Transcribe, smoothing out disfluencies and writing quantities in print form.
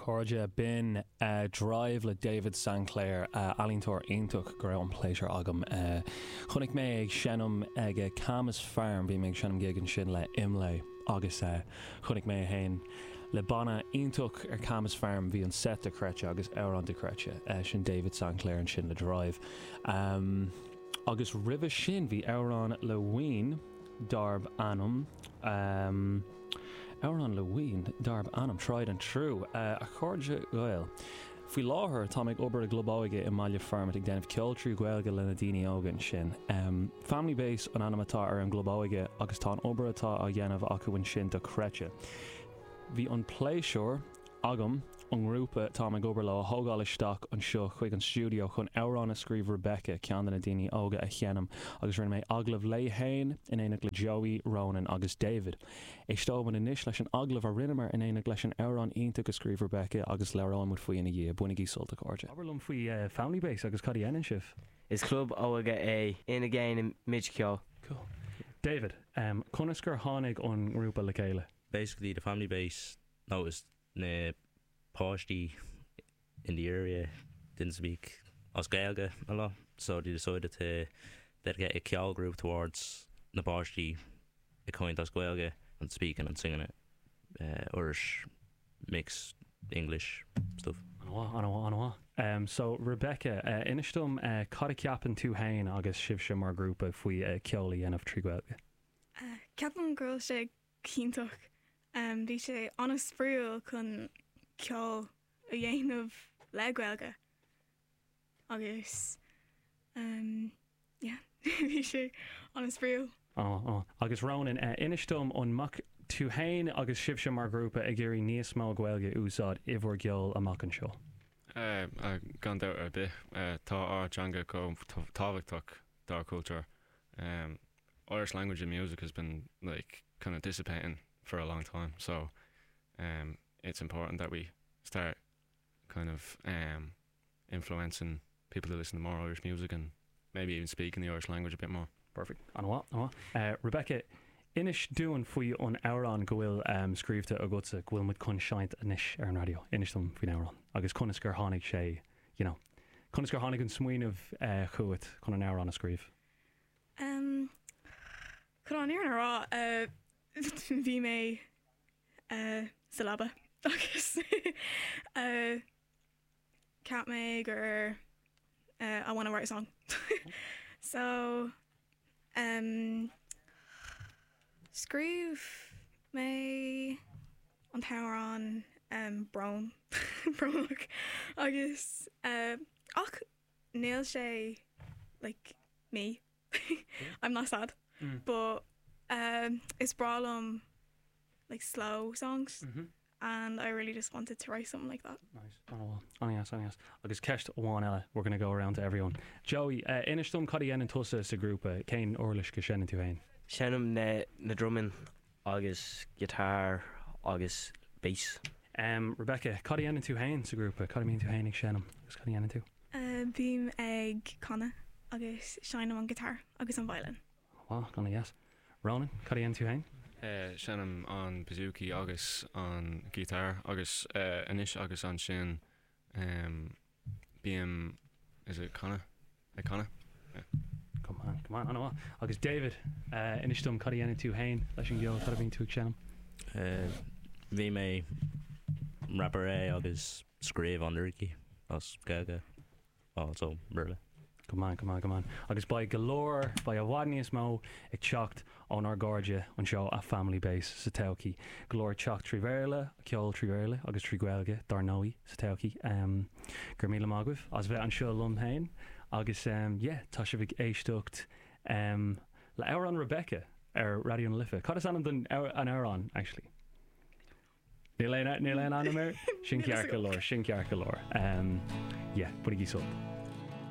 Chairde, b'in Drive le David Sinclair, ealaíontóir iontach go raibh an pléisiúr agam. Chonaic mé ag seinm ag Camas Farm, bhí mé ag seinm gig ansin le Imlé agus chonaic mé é féin le banna iontach ar Camas Farm, bhí an set dochreidte agus amhrán dochreidte. Sin David Sinclair ansin le Drive. Agus roimhe sin bhí amhrán le Ween darb ainm. Amhrán le Ween darb ainm Tried and True. A chairde Gael, Faoi láthair táim ag obair i gclub óige i mBaile Formaid ag déanamh ceol trí Ghaeilge le na daoine óga ansin. Family Base an ainm atá ar an gclub óige agus tá an obair atá á dhéanamh acu ansin dochreidte. Bhí an pléisiúr agam an ngrúpa táim ag obair leo a thógáil isteach anseo chuig an stiúideo chun amhrán a scríobh Rebecca, ceann de na daoine óga a sheinm agus rinne mé agallamh léi fhéin in éineacht le Joey, Ronan agus David. Éisteoidh muid anois leis an agallamh a rinneamar in éineacht leis an amhrán iontach a scríobh Rebecca agus labhróidh muid faoi ina dhiaidh. Bainigí sult a chairde. Abair liom faoi Family Base agus cad a dhéanann sibh? Is club óige é ina ndéanaimid ceol. Cool. David, conas gur tháinig an ngrúpa le chéile? Basically the Family Base noticed na páistí in the area didn't speak as Gaeilge a lot so they decided to dedicate a ceol group towards na páistí ag caint as Gaeilge and speaking and singing it Irish mix English stuff. An-mhaith, an-mhaith, an-mhaith. So Rebecca, inis dom cad a cheapann tú fhéin agus sibhse mar ghrúpa faoi ceol a dhéanamh trí Ghaeilge? Ceapaim go bhfuil sé iontach. Bhí sé an-spraíúil chun ceol a dhéanamh le Gaeilge agus yeah bhí sé an-spraíúil. Á, agus Ronan, inis dom an mbeadh tú fhéin agus sibhse mar ghrúpa ag iarraidh níos mó Gaeilge a úsáid i bhur gceol amach anseo? Gan dabht ar bith. Tá ár dteanga chomh tábhachtach dár cultúr. Irish language and music has been like kind of dissipating for a long time so um it's important that we start kind of um influencing people to listen to more Irish music and maybe even speaking the Irish language a bit more. Perfect. An-mhaith, an-mhaith. Uh, Rebecca, inis dúinn faoi an amhrán go bhfuil um, scríobhta agatsa go bhfuil muid chun seinnt anois ar an raidió. Inis dom faoin amhrán agus conas gur tháinig sé, you know, conas gur tháinig an smaoineamh uh, chugat chun an amhrán a scríobh. Chun an fhírinne a rá, bhí mé sa leaba agus cheap mé gur I wanna write a song. So scríobh mé an t-amhrán Brón, Brónach agus ach níl sé like me I'm not sad but um is breá liom like slow songs and I really just wanted to write something like that. Nice. An-mhaith. An-dheas, an-dheas. Agus ceist amháin eile, we're gonna go around to everyone. Joey, uh, inis dom cad a dhéanann tusa sa ghrúpa, cén uirlis go seinneann tú féin? Seinnim na na drumaí agus guitar agus bass. Em, Rebecca, cad a dhéanann tú féin sa ghrúpa? Cad a mbíonn tú féin ag seinm agus cad a dhéanann tú? Bím ag canadh agus seinnim an guitar agus an violin. Wow, an-dheas. Ronan, cad a dhéanann tú féin? Seinnim an bouzouki agus an guitar agus anois agus ansin bím, is it canadh? Ag canadh? Yeah. Come on, come on, an-mhaith. Agus David, inis dom cad a dhéanann tú féin leis an gceol, cad a bhíonn tú ag seinm? Bhí mé rapper é agus scríobh an liricí as Gaeilge also Béarla. Go maith, go maith, go maith. Agus beidh go leor, beidh i bhfad níos mó ag teacht ónár gcairde anseo a Family Base sa todhchaí. Go leor ag teacht trí Bhéarla, ceol trí Bhéarla agus trí Ghaeilge, dar ndóigh, sa todhchaí. Go raibh míle maith agaibh as bheith anseo liom féin agus yeah, tá sibh ag éisteacht le amhrán Rebecca ar Raidió na Life. Cad is ainm don amhrán, actually? Níl aon, níl aon ainm air? Sin ceart go leor, sin ceart go leor. Yeah, bainigí sult.